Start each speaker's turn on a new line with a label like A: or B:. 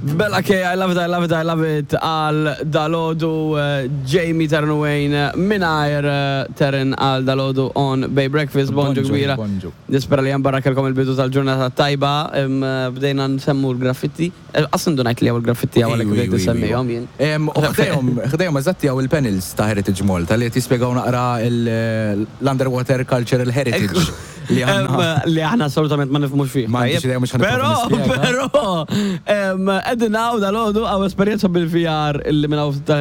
A: Bella K, I love it, I love it, I love it, għal dalodu Jamie Taryn Wayne mingħajr Taryn għal dalodu on Bay Breakfast, bonġu kbira. Nispera li barra kelkom il-bidu tal-ġurnata tajba, bdejna nsemmu l-graffitti. Qas indunajt li hawn il-graffitti hawn għalhekk bdejt insemmihom jien.
B: U ħdejhom, ħdejhom eżatti hawn il-panels ta' Heritage Malta li qed jispjegaw naqra l-underwater cultural heritage.
A: Li aħna. Li aħna assolutament ma nifhmux fih.
B: Ma għandix idea mhux ħa
A: Però, però, qegħdin hawn dalgħodu hawn esperjenza bil-VR illi minn hawn ftit.